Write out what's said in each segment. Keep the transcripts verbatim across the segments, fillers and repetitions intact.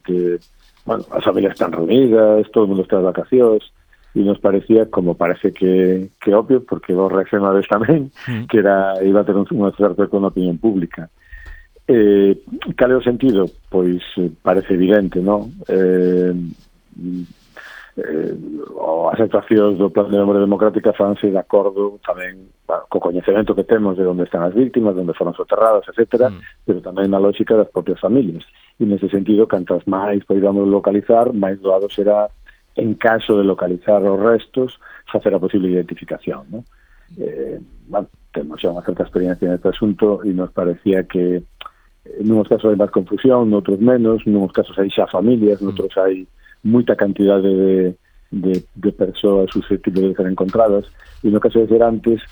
xente, bueno, as familias están reunidas, todo o mundo está de vacacións, e nos parecía, como parece que, que obvio, porque vos reaccionades tamén, mm. que era iba a ter un, un acerto con a opinión pública. Eh, cal é o sentido? Pois parece evidente, non? Eh, eh, as actuacións do Plan de Memoria Democrática fanse de acordo tamén bueno, co coñecemento que temos de onde están as víctimas, onde foron soterradas, etcétera, mm. pero tamén na lógica das propias familias. E nese sentido, cantas máis podamos localizar, máis doado será, en caso de localizar os restos, facer a posible identificación, ¿no? Eh, bueno, temos xa unha certa experiencia neste asunto e nos parecía que en unos casos hai máis confusión, noutros menos, en unos casos hai xa familias, noutros hai moita cantidade de, de, de persoas susceptibles de ser encontradas, e no caso de ser antes,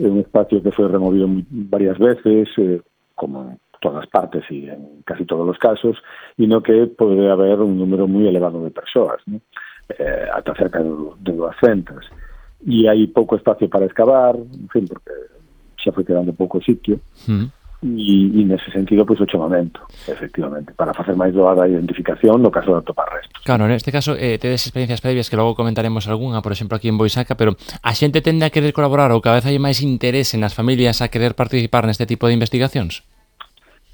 é un espacio que foi removido varias veces, eh, como en todas partes e en casi todos os casos, e no que pode haber un número moi elevado de persoas, ¿no? eh, ata cerca de, de duascentas. E hai pouco espacio para excavar, en fin, porque xa foi quedando pouco sitio, mm. E, e nese sentido, pois, o chamamento, efectivamente, para facer máis doada a identificación no caso de atopar restos. Claro, neste caso, eh, tedes experiencias previas que logo comentaremos algunha, por exemplo, aquí en Boisaca, pero a xente tende a querer colaborar ou cada vez hai máis interés nas familias a querer participar neste tipo de investigacións?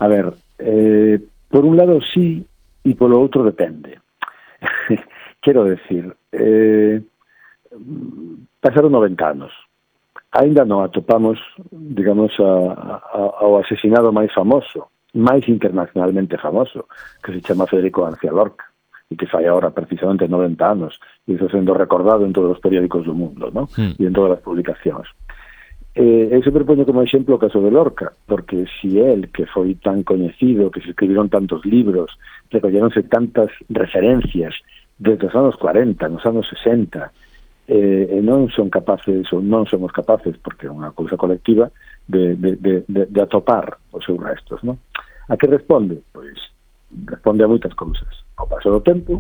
A ver, eh, por un lado sí, e polo outro depende. Quero decir, eh, pasaron noventa anos. Ainda non atopamos, digamos, a, a, ao asesinado máis famoso, máis internacionalmente famoso, que se chama Federico García Lorca, e que fai agora precisamente noventa anos, e iso sendo recordado en todos os periódicos do mundo, ¿no? Mm. E en todas as publicacións. Eh, eu sempre poño como exemplo o caso de Lorca, porque si él, que foi tan coñecido, que se escribiron tantos libros, recolleronse tantas referencias desde os anos cuarenta, nos anos sesenta, eh, e non son capaces, ou non somos capaces, porque é unha cousa colectiva, de, de, de, de, de atopar os seus restos, non? A que responde? Pois responde a moitas cousas. Ao paso do tempo,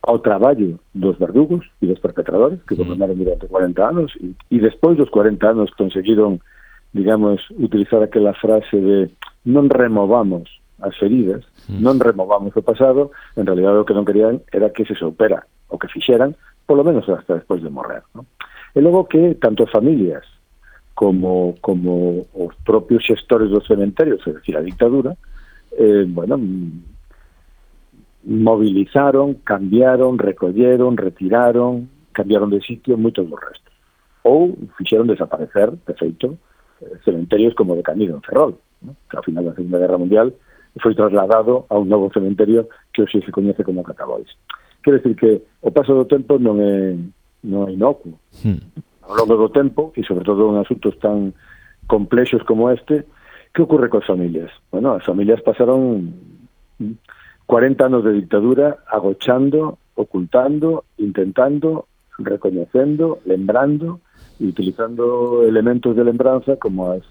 ao traballo dos verdugos e dos perpetradores, que gobernaron durante cuarenta anos, e, e despois dos cuarenta anos conseguiron, digamos, utilizar aquela frase de non removamos as feridas, mm. non removamos o pasado, en realidad o que non querían era que se soupera o que fixeran, polo menos hasta despois de morrer, ¿no? E logo que tanto as familias como, como os propios xestores dos cementerios, é dicir, a dictadura, eh, bueno, movilizaron, cambiaron, recolleron, retiraron, cambiaron de sitio moitos dos restos. Ou fixeron desaparecer, de feito, cementerios como de Canido en Ferrol, ¿no? Que ao final da Segunda Guerra Mundial foi trasladado a un novo cementerio que hoxe se coñece como Catabois. Quero decir que o paso do tempo non é, non é inocuo. Hmm. Ao longo do tempo, e sobre todo en asuntos tan complexos como este, que ocorre coas familias? Bueno, as familias pasaron cuarenta anos de dictadura agochando, ocultando, intentando, recoñecendo, lembrando e utilizando elementos de lembranza como as,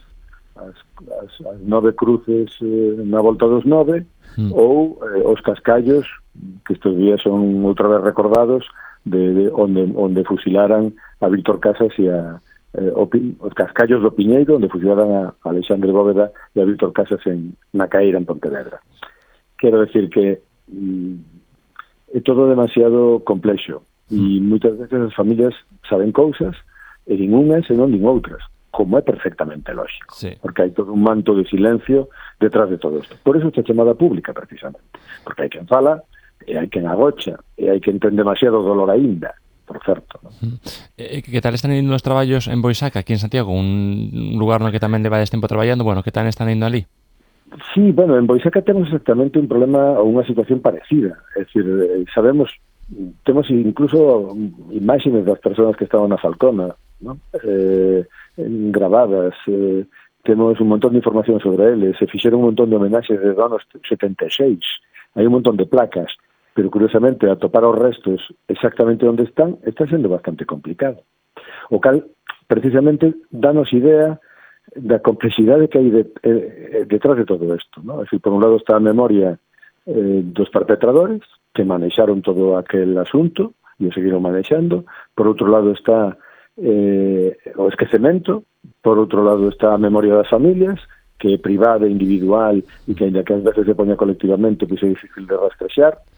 as, as, as nove cruces eh, na volta dos nove mm. ou eh, os cascallos que estes días son outra vez recordados de, de onde, onde fusilaran a Víctor Casas e a eh, o, os cascallos do Piñeiro, onde fusilaran a Alexandre Bóveda e a Víctor Casas en, na Caíra, en Pontevedra. Quero decir que mm, é todo demasiado complexo e moitas veces as familias saben cousas e din unhas e non din outras, como é perfectamente lógico, sí. Porque hai todo un manto de silencio detrás de todo isto. Por eso está chamada pública, precisamente, porque hai quen fala, e hai quen agocha, e hai quen ten demasiado dolor aínda, por certo, ¿no? Eh, que tal están indo os traballos en Boisaca, aquí en Santiago, un lugar no que tamén levades tempo traballando? Bueno, que tal están indo ali? Sí, bueno, en Boisaca temos exactamente un problema ou unha situación parecida, é dicir, sabemos, temos incluso imágenes das persoas que estaban na Falcona, ¿no? Eh, grabadas, eh, temos un montón de información sobre eles, se fixeron un montón de homenaxes desde os anos setenta e seis, hai un montón de placas, pero curiosamente atopar os restos exactamente onde están está sendo bastante complicado, o cal precisamente danos idea da complexidade que hai de, eh, detrás de todo isto, ¿no? Es decir, por un lado está a memoria eh, dos perpetradores que manexaron todo aquel asunto e o seguiron manexando, por outro lado está eh, o esquecemento, por outro lado está a memoria das familias, que é privada, individual, e que ainda que ás veces se poña colectivamente, pois é difícil de rastrexar,